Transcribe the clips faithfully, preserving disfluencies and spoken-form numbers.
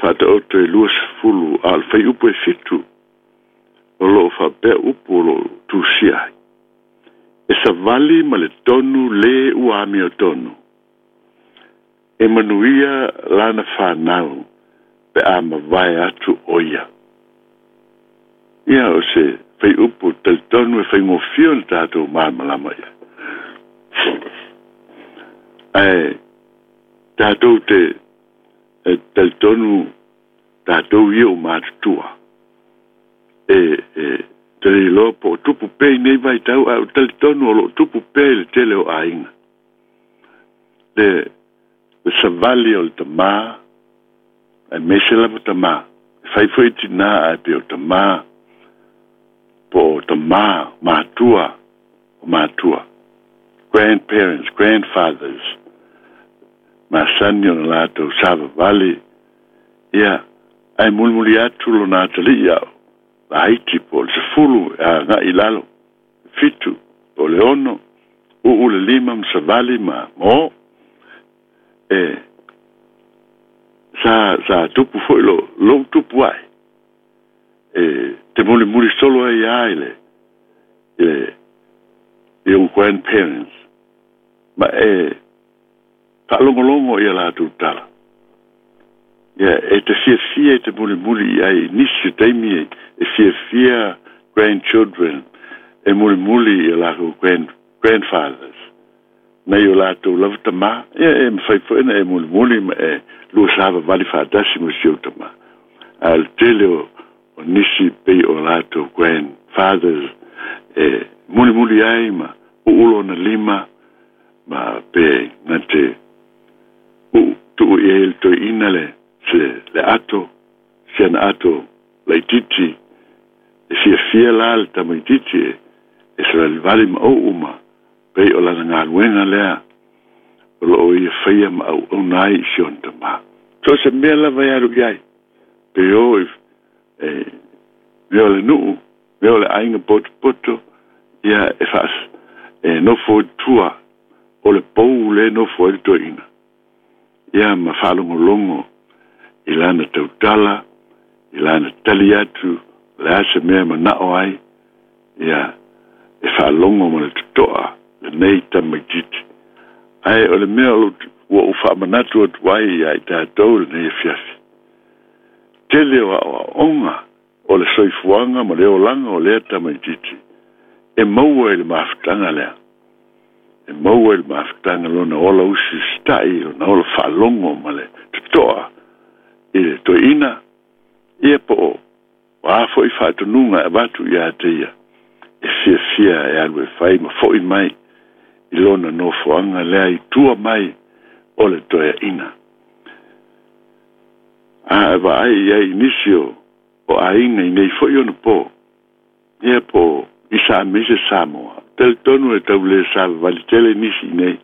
Faataoto e luasefulu a o le faiupu e fitu o loo faapea upu o loo tusia ai. E savali ma le tonu lē ua amiotonu. E manuia lana fanau pe a mavae atu o ia. Ia o se faiupu talitonu e faigofie ona tatou malamalama ia. Ae tatou te e talitonu tatou ia o matutua. E, e te leiloa po o tupu pea i nei vaitau, ae o talitonu o loo tupu pea i le tele o aiga. Le, le savali o le tamā, aemaise lava tamā. E fai foi tinā ae pei o tamā, po o tamā, matua, o matua. Grandparents, grandfathers, masani ona latou savavali, ia, ae mulimuli atu lona atalii ao, laiti po o le sefulu e aga'i i lalo, fitu, po o le ono, uu le lima ma savali ma ma o. E, sa, sa tupu foi lo, lou tupu ae. E, te mulimuli solo ai a i le, i le, i ou grandparents. Ma e, faalogologo ia latou tala. Ia, e te fiafia e te mulimuli i ai nisi o taimi e, e fiafia grandchildren e mulimuli i latou grand, grandfathers. Nei o latou lava tamā, ia e mafai foi ona e mulimuli ma e lua savavali faatasi ma si ou tamā. A o le tele o, o nisi pei o latou grandfathers e mulimuli ai ma uulo ona lima ma pe na te uu tuu i ai le toeaina le se le ato si ana ato laititi e fiafia la le tamaititi e e savalivali ma ou ma pei o lana galuega lea o loo ia faia ma auauna ai i si ona tamā. So se mea lava e alu i ai pe o e, e mea o le nuu, mea o le aiga potopoto, ia e faas e nofo i tua o le pou le nofo ai le toeaina. Ia ma faalogologo i lana tautala, i lana tali atu, le a se mea manao ai, ia e faalogo ma le totoa lenei tamaititi. Ae o le mea o ua ou faamanatu atu ai ia i tatou lenei afiafi. Tele o aoaoga o le soifuaga ma le olaga o lea tamaititi e maua i le mafutaga lea. E maua i le mafutaga lona ola usiusita'i, lona ola faalogo ma le totoa i le toeaina, ia po o a foi faatonuga e avatu ia te ia, e fiafia e alu e fai ma fo'i mai i lona nofoaga lea i tua mai o le toeaina. A e vaai i ai i nisi o, o aiga i nei foi ona po, ia po i sa aemaise Samoa. Talitonu e tau le savavali tele nisi i nei.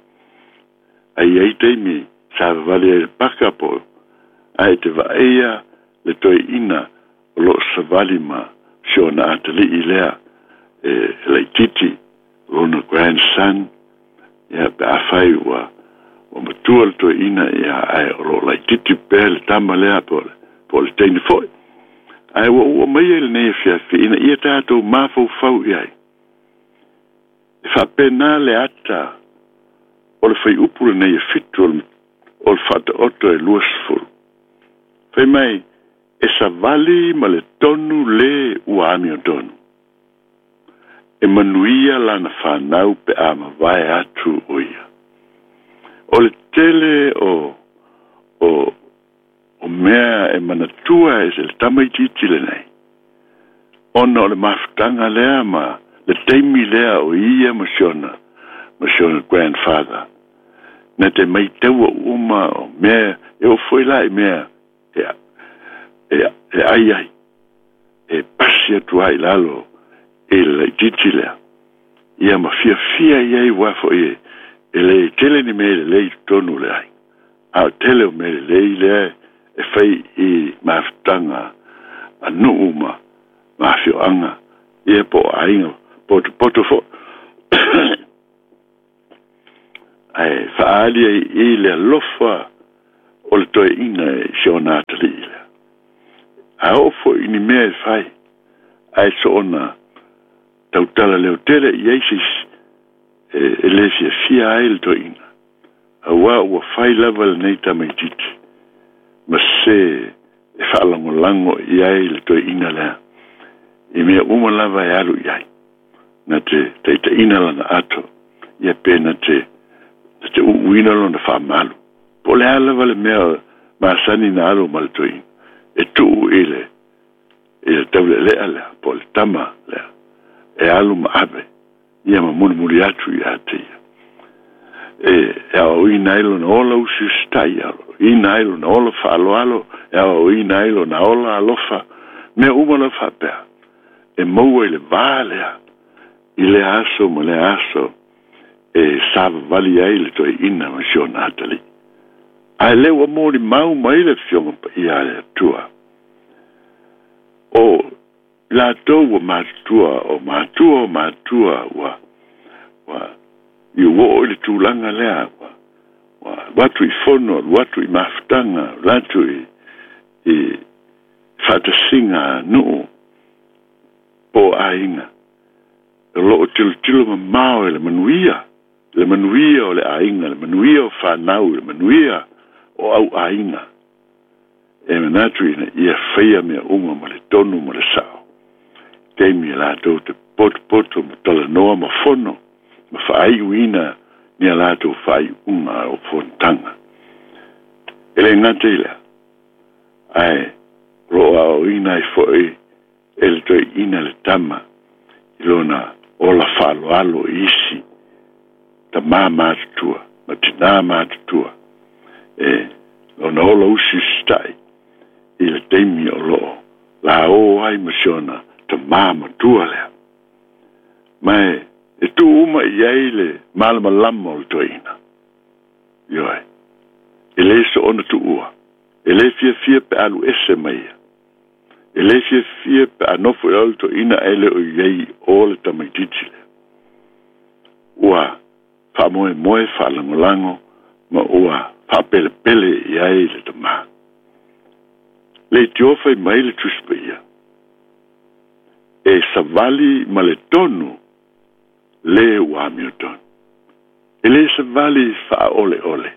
Ai ai taimi savavali ai le paka po, ae te vaaia le toeaina o loo savali ma si ona atalii lea e, e laititi, lona grandson, ia pe afai ua ua matua le toeaina, ia ae o loo laititi pea le tama lea po o le, po o le teine foi. Ae ua ou aumaia i lenei afiafi ina ia tatou mafaufau i ai. E faapena le ata o le faiupu lenei e fitu o le, o le Faataoto e luasefulu. Fai mai, e savali ma le tonu lē ua amiotonu. E manuia lana fanau pe a mavae atu o ia. O le tele o, o, o mea e manatua e se le tamaititi lenei. Ona o le mafutaga lea ma le taimi lea o ia ma si ona, ma si ona grandfather. Na te maitaua uma o mea, e oo foi la i mea e, e, e ai ai. E pasi atu ai i lalo i le laititi lea. Ia ma fiafia i ai ua foi e, e le tele ni mea lelei i totonu o le aiga. A o tele o mea lelei lea e fai i mafutaga a nuu ma ma afioaga, ia po o aiga potopoto foi. Ae faaali ai i le alofa o le toeaina i si ona atalii lea. A oo fo'i ni mea e fai ae soona tautala leotele i ai seisi e, e lē fiafia ai le toeaina auā ua fai lava lenei tamaititi ma se e faalagolago i ai le toeaina lea i mea uma lava e alu i ai na te taitaʻina lana ato ia pe na te na te uuina lona faamalu po o le a lava le mea masani na alu ma le toeaina e tuu i le i le taulealea lea po o le tama lea e alu ma ave ia ma mulimuli atu iā te ia e e aoaoina ai lona ola usiusitai aoaoina ai lona ola faaloalo e aoaoina ai lona ola alofa mea uma lava faapea e maua i le vā lea i lea aso ma lea aso e savavali ai le toeaina ma si ona atalii ae lē ua molimau mai le afioga paia a le Atua o latou ua matutua o matua o matua ua ua i ua oo i le tulaga lea ua ua alu atu i fono alu atu i mafutaga alu atu i i faatasiga nuu po o aiga o loo tilotilo mamao e le manuia le manuia o le aiga le manuia o fanau le manuia o au aiga e manatu ina ia faia mea uma ma le tonu ma le sao taimi e latou te potopoto ma talanoa ma fono ma faaiuina ni a latou faaiuga o fonotaga e lē gata i lea ae o loo aoaoina ai fo'i e le toeaina le tama i lona ola faaloalo i isi tamā matutua ma tinā matutua e lona ola usiusita'i i le taimi o loo laō ai ma si ona tamā matua lea ma e e tuu uma i ai le malamalama o le toeaina ioe e lē soona tuua e lē fiafia pe alu ese mai ia e lē fiafia pe a nofo i lalo le toeaina ae le o i ai o le tamaititi lea ua faamoemoe faalagolago ma ua faapelepele i ai le tamā le itio fai mai le Tusi Paia e savali ma le tonu lē ua amiotonu e lē savali faaoleole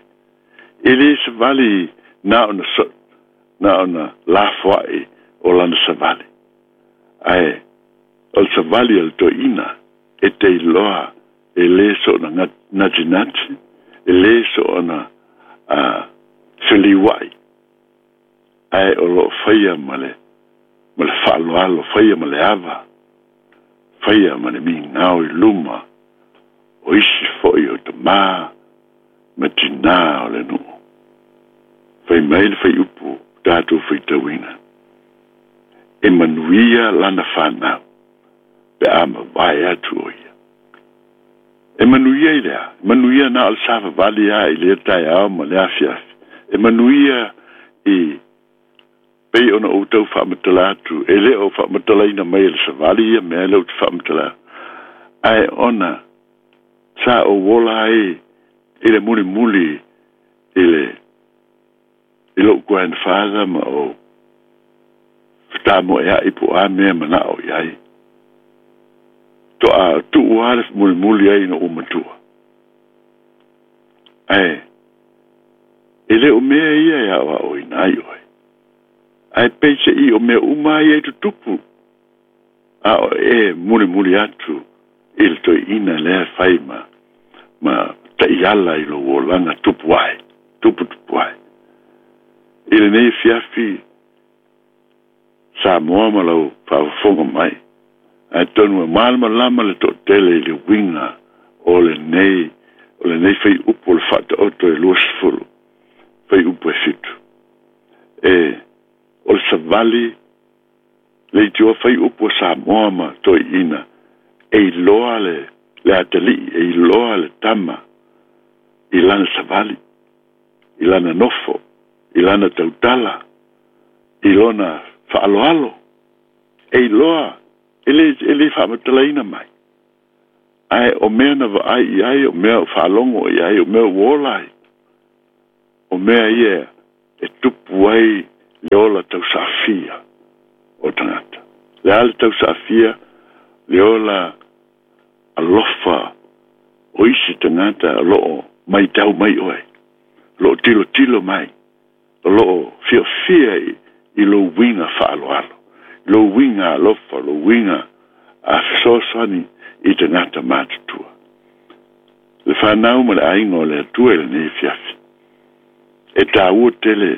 e lē savali na ona so na ona lafoaʻi o lana savali ae o le savali a le toeaina e te iloa e lē soona natinati e lē soona a feliuaʻi ae o loo faia ma le ma le faaloalo faia ma le ava faia ma le migao i luma o isi fo'i o tamā ma tinā o le nuu fai mai le faiupu tatou faitauina e manuia lana fanau pe a mavae atu o ia e manuia i lea e manuia na o le savavali a i lea taeao ma le afiafi e manuia i pei ona ou tau faamatala atu e lē o faamatalaina mai e le savali ia mea le ou te faamatala ae ona sa ou ola ai i le mulimuli i le i lou grandfather ma o fetamoeaʻi po o a mea manao i ai toa tuu a le mulimuli ai ina ua matua ae e lē o mea ia e aoaoina ai oe ae peiseʻi o mea uma ia i tutupu a o e mulimuli atu i le toeaina lea fai ma ma taʻiala i lou olaga tupu ae tupu tupu ae i lenei fiafi Samoa ma lau faafofoga mai ae tonu e malamalama le toʻatele i le uiga o lenei o lenei faiupu o le Faataoto e luasefulu faiupu e fitu e o le savali le itioa faiupu a Samoa ma toeaina e iloa le le atalii e iloa le tama i lana savali i lana nofo i lana tautala i lona faaloalo e iloa e lē e lē faamatalaina mai ae o mea na vaai i ai o mea o faalogo i ai o mea ua ola ai o mea ia e tupu ai le ola tausaafia o tagata. Le a le tausaafia le ola alofa o isi tagata o loo maitau mai oe, loo tilotilo mai, o loo fiafia i, i lou uiga faaaloalo, lou uiga alofa, lou uiga a fesoasoani i tagata matutua. Le fanau ma le aiga o le Atua i lenei afiafi, e tāua tele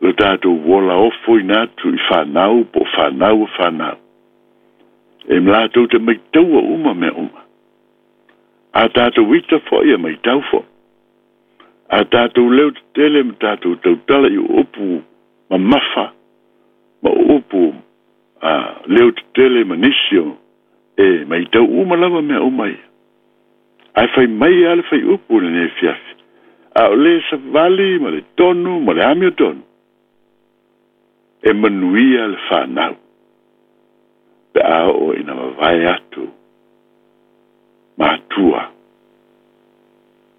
lo tatou ola ofoina atu i fanau po o fanau o fanau. E latou te maitaua uma mea uma. A tatou ita fo'i e maitau fo'i. A tatou leo tetele ma tatou tautala i upu mamafa ma upu a leo tetele ma nisi o e maitau uma lava mea uma ia. Ae fai mai lava le faiupu i lenei afiafi, a o le savali ma le tonu ma le amiotonu, e manuia le fanau pe a oo ina mavae atu matua,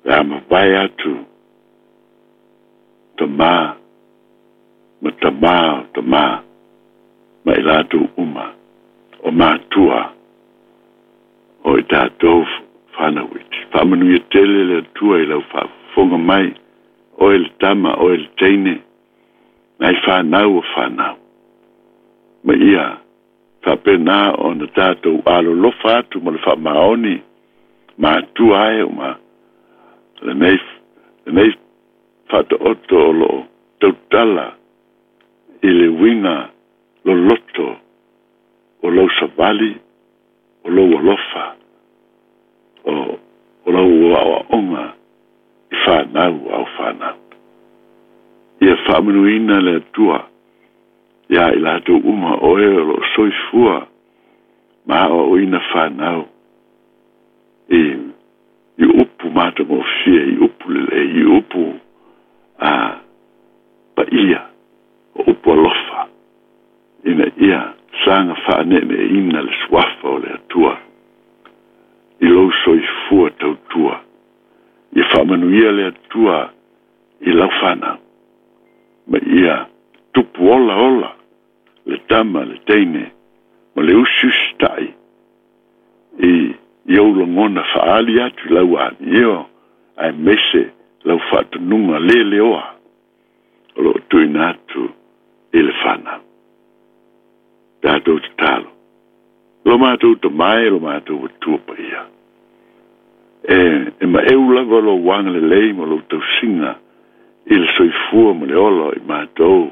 pe a mavae atu tamā ma tamā o tamā ma i latou uma o matua o i tatou fanau iti. Faamanuia tele le Atua i lau faafofoga mai, oe le tama, oe le teine, nai fanau o fanau. Ma ia faapena ona tatou alolofa atu ma le faamaoni matua ai ma lenei lenei faataoto o loo tautala i le uiga loloto o lou savali, o lou alofa, o, o lau aoaoga i fanau au fanau. Ia faamanuina le Atua ia i latou uma o e o loo soifua ma aoaoina fanau i, i upu matagofie, i upu lelei, i upu a paia, o upu alofa, ina ia saga faaneeneeina le suafa o le Atua i lou soifua tautua. Ia faamanuia le Atua i lau fanau, ma ia tupu ola ola le tama, le teine, ma le usiusitai i, i ou lagona faaali atu i lau amio, aemaise lau faatonuga leleoa o loo tuuina atu i le fanau. Tatou tatalo, lo matou tamae, lo matou Atua paia, e, e maeu lava lou agalelei ma lou tausiga i le soifua ma le ola o i matou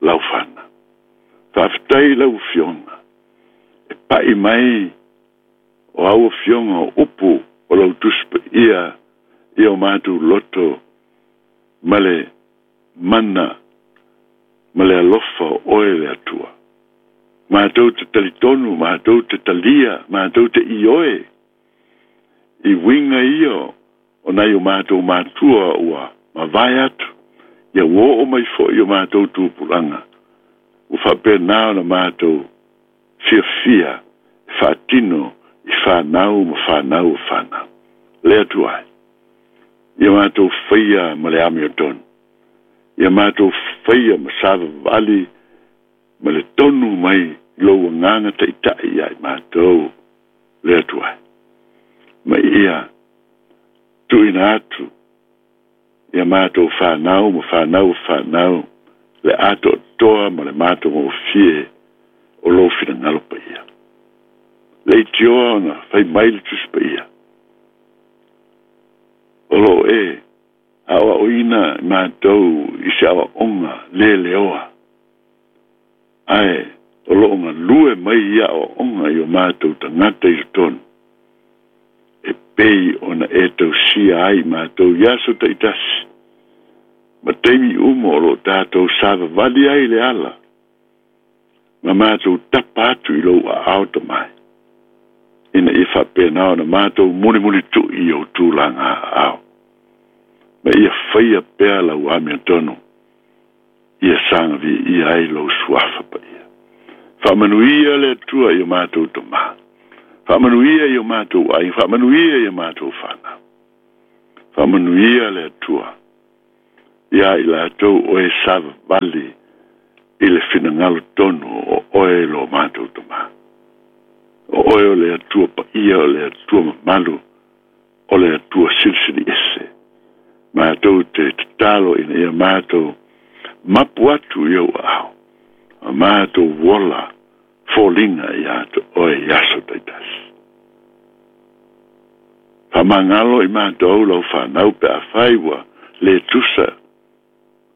lau fanau. Faafetai lau afioga e pa'i mai o au afioga o upu o lau Tusi Paia i o matou loto ma le mana ma le alofa o oe le Atua. Matou te talitonu, matou te talia, matou te ioe i uiga ia o nai o matou matua ua mavae atu, ia ua oo mai fo'i o matou tupulaga, ua faapena ona matou fiafia e faatino i fanau ma fanau o fanau. Le Atua ai, ia matou faia ma le amiotonu, ia matou faia ma savavali ma le tonu mai lou agaga taʻitaʻi ia i matou, le Atua ai. Ma ia tuuina atu ia matou fanau ma fanau o fanau le atoatoa ma le matagofie o lou finagalo paia. Leitioa ona fai mai le Tusi Paia, o loo e aoaoina i matou i se aoaoga leleoa, ae o loo galue mai ia aoaoga i o matou tagata i totonu, e pei ona e tausia ai matou i aso taitasi ma taimi uma o loo tatou savavali ai le ala, ma matou tapa atu i lou aao tamai, ina ia faapena ona matou mulimulitu'i i ou tulaga aao, ma ia faia pea lau amiotonu, ia saga viia ai lou suafa paia. Faamanuia le Atua i o matou tamā, faamanuia i o matou aiga, faamanuia i o matou fanau. Faamanuia le Atua ia i latou o e savavali i I le finagalo tonu o oe lo matou tamā. O oe o le Atua paia, o le Atua mamalu, o le Atua silisili ese. Matou te tatalo ina ia matou mapu atu i ou aao. A matou ola foliga ia te oe i aso taitasi. Faamagalo i matou lau fanau pe afai ua le tusa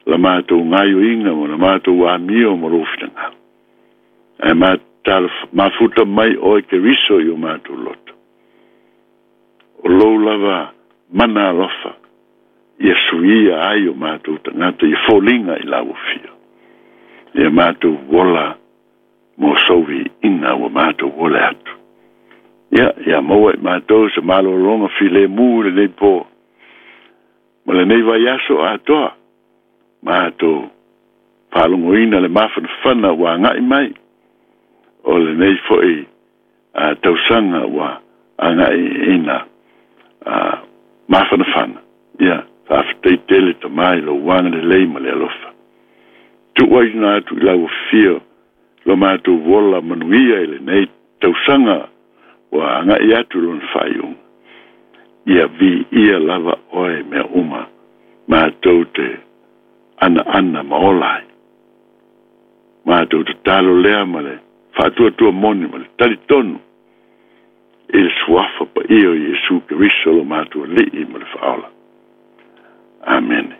la matou gaioiga ma la matou amio ma lou finagalo. Ae matalo mafuta mai oe Keriso i o matou loto. O lou lava mana alofa ia suia ai o matou tagata ia foliga i lau afio. Ia matou ola mo sou viiga ua matou ola atu. Ia, ia maua i matou se malologa filemu i lenei po. Ma lenei vaiaso atoa, matou faalogoina le mafanafana ua agai mai. O lenei foi a tausaga ua agai ina a mafanafana. Ia, faafetai tele tamā i lou agalelei ma le alofa. Tuuaina atu i lau afio lo matou ola manuia i lenei tausaga ua agai atu lona faaiuga. Ia viia lava oe mea uma matou te anaana ma ola ai. Matou tatalo lea ma le faatuatua moni ma le talitonu i le suafa paia o Iesu Keriso lo matou Alii ma le Faaola. Amene.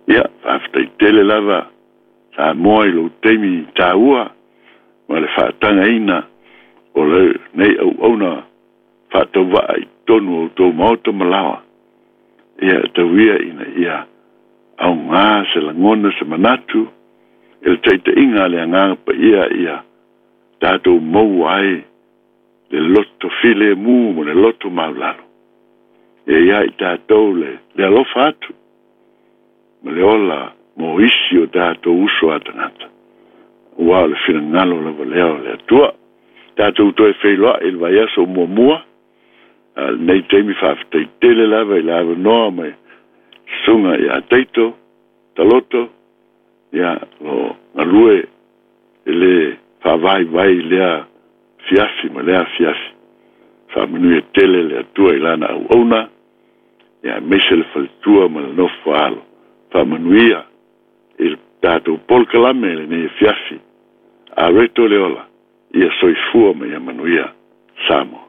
Ia, faafetai tele lava Samoa i lou taimi taua ma le faatagaina o lenei auauna faatauvaa i totonu o outou maota ma laoa. Ia tauia ina ia augā se lagona se manatu i le taitaiga a le Agaga Paia ia tatou maua ai le loto filemu ma le loto maulalo. Ia ia i tatou le, le alofa atu ma le ola mo isi o tatou uso a tagata. Ua o le finagalo lava lea o le Atua. Tatou toe feiloai i le vaiaso muamua. A lenei taimi faafetai tele lava i le avanoa mai susuga ia Taito, Taloto, ia lo galue i le faavaivai lea fiafi ma lea fiafi. Faamanuia tele le Atua i lana auauna, ia aemaise le faletua ma le nofo alo. Faamanuia i le tatou polokalame i lenei afiafi. A reto le ola, ia soifua ma ia manuia Samoa.